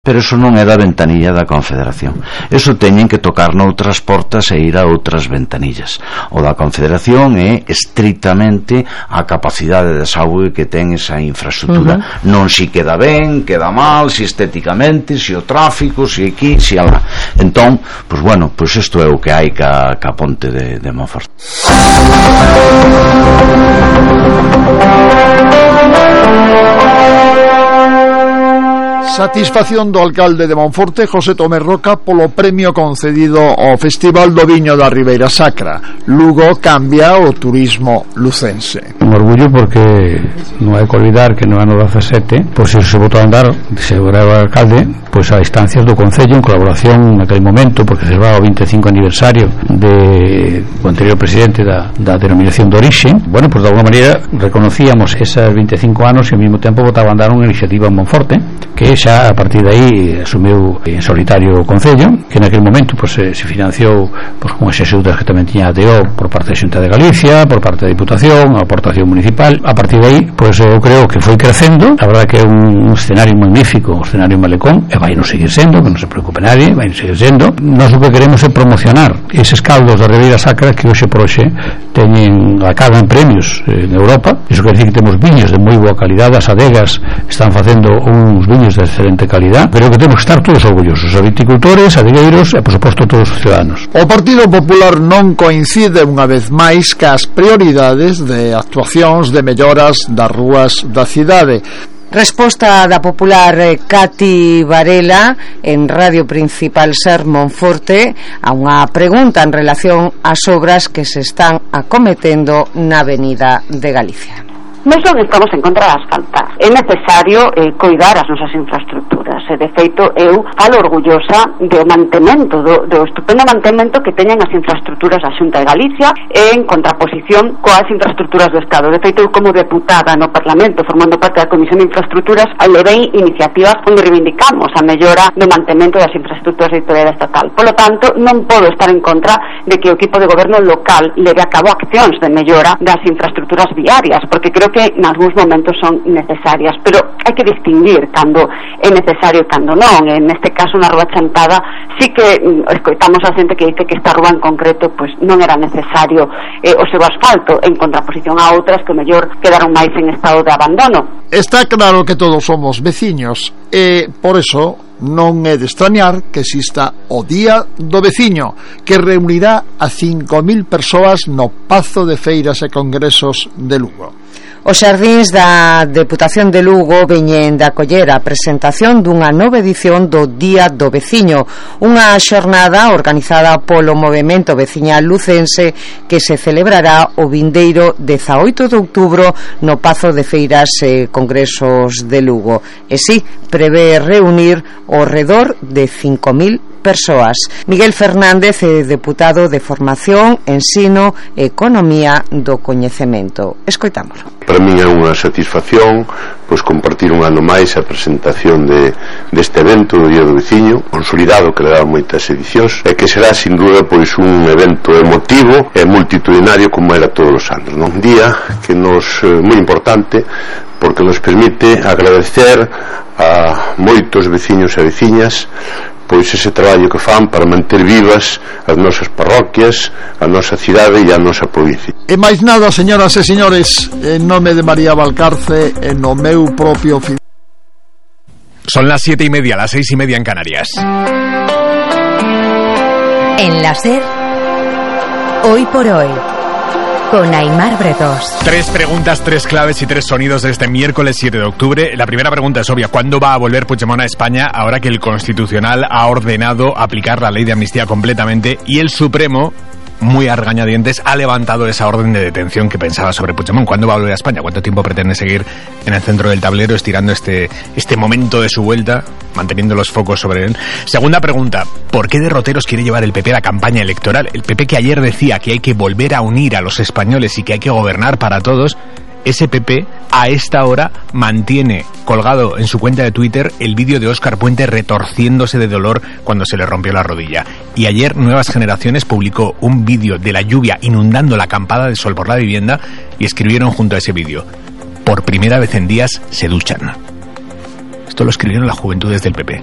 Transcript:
Pero eso non é da ventanilla da Confederación. Eso teñen que tocar noutras portas e ir a outras ventanillas. O da Confederación é estritamente a capacidade de saúde que ten esa infraestructura. Non si queda ben, queda mal, si estéticamente, si o tráfico, si aquí, si alá. Entón, pois bueno, pois isto é o que hai ca ponte de Monforte. Satisfacción do alcalde de Monforte, José Tomé Roca, polo premio concedido ao Festival do Viño da Ribeira Sacra. Lugo cambia o turismo lucense. Un orgullo porque non hai que olvidar que no ano 17, pois se botou a andar, se era o alcalde, pois a instancias do Concello en colaboración naquele momento, porque se va ao 25 aniversario do anterior presidente da denominación de orixe. Bueno, pois de alguna maneira reconocíamos esos 25 anos e ao mesmo tempo botaba a andar unha iniciativa en Monforte, que xa a partir de aí asumiu en solitario o Concello, que naquele momento pois, se financiou pois, con as axudas que tamén tiña a DO por parte da Xunta de Galicia, por parte da Diputación, a aportación municipal. A partir de aí, pois eu creo que foi crecendo. A verdade que é un escenario magnífico, un escenario malecón, e vai non seguir sendo, que non se preocupe nadie, vai non seguir sendo. Nós o que queremos é promocionar eses caldos da Ribeira Sacra que hoxe por hoxe teñen acaban premios en Europa. Iso quer dizer que temos viños de moi boa calidade. As adegas están facendo uns viños de excelente calidad. Creo que temos que estar todos orgullosos, os viticultores, adegueiros e, por suposto, todos os ciudadanos. O Partido Popular non coincide unha vez máis cas prioridades de actuacións de melloras das rúas da cidade. Resposta da popular Cati Varela en Radio Principal Ser Monforte a unha pregunta en relación ás obras que se están acometendo na Avenida de Galicia. Non son estamos en contra das asfaltar. É necesario coidar as nosas infraestructuras. E, de feito, eu falo orgullosa do mantemento, do estupendo mantemento que teñen as infraestructuras da Xunta de Galicia en contraposición coas infraestructuras do Estado. De feito, eu como deputada no Parlamento, formando parte da Comisión de Infraestructuras, levei iniciativas onde reivindicamos a mellora do mantemento das infraestructuras de titularidade estatal. Por lo tanto, non podo estar en contra de que o equipo de goberno local leve a cabo accións de mellora das infraestructuras viarias, porque creo que en algúns momentos son necesarias, pero hai que distinguir cando é necesario e cando non. En este caso, na Rúa Chantada, sí que escoitamos a xente que dice que esta rúa en concreto pois non era necesario o seu asfalto, en contraposición a outras que mellor quedaron máis en estado de abandono. Está claro que todos somos veciños e, por eso, non é de extrañar que exista o Día do Veciño, que reunirá a 5.000 persoas no Pazo de Feiras e Congresos de Lugo. Os xardíns da Deputación de Lugo veñen de acoller a presentación dunha nova edición do Día do Veciño, unha xornada organizada polo Movemento Veciñal Lucense que se celebrará o vindeiro 18 de outubro no Pazo de Feiras e Congresos de Lugo. E si, prevé reunir ao redor de 5.000 persoas. Miguel Fernández é deputado de Formación, Ensino e Economía do Coñecemento. Escoitámoslo. Para mí é unha satisfacción pois compartir un ano máis a presentación deste evento do Día do Veciño, consolidado, que le dá moitas edicións, e que será sin dúda pois un evento emotivo e multitudinario como era todos os anos, non? Un día que nos moi importante porque nos permite agradecer a moitos veciños e veciñas pois ese traballo que fan para manter vivas as nosas parroquias, a nosa cidade e a nosa provincia. E máis nada, señoras e señores, en nome de María Valcarce, en o meu propio Son las 7:30, las 6:30 en Canarias. En la SER, Hoy por Hoy, con Aimar Bretos. 3 preguntas, 3 claves y 3 sonidos de este miércoles 7 de octubre. La primera pregunta es obvia. ¿Cuándo va a volver Puigdemont a España ahora que el Constitucional ha ordenado aplicar la ley de amnistía completamente y el Supremo, muy a regañadientes, ha levantado esa orden de detención que pensaba sobre Puigdemont? ¿Cuándo va a volver a España? ¿Cuánto tiempo pretende seguir en el centro del tablero estirando este momento de su vuelta, manteniendo los focos sobre él? Segunda pregunta, ¿por qué derroteros quiere llevar el PP a la campaña electoral? El PP, que ayer decía que hay que volver a unir a los españoles y que hay que gobernar para todos, ese PP a esta hora mantiene colgado en su cuenta de Twitter el vídeo de Óscar Puente retorciéndose de dolor cuando se le rompió la rodilla. Y ayer Nuevas Generaciones publicó un vídeo de la lluvia inundando la acampada de sol por la vivienda y escribieron junto a ese vídeo: por primera vez en días se duchan. Esto lo escribieron las juventudes del PP.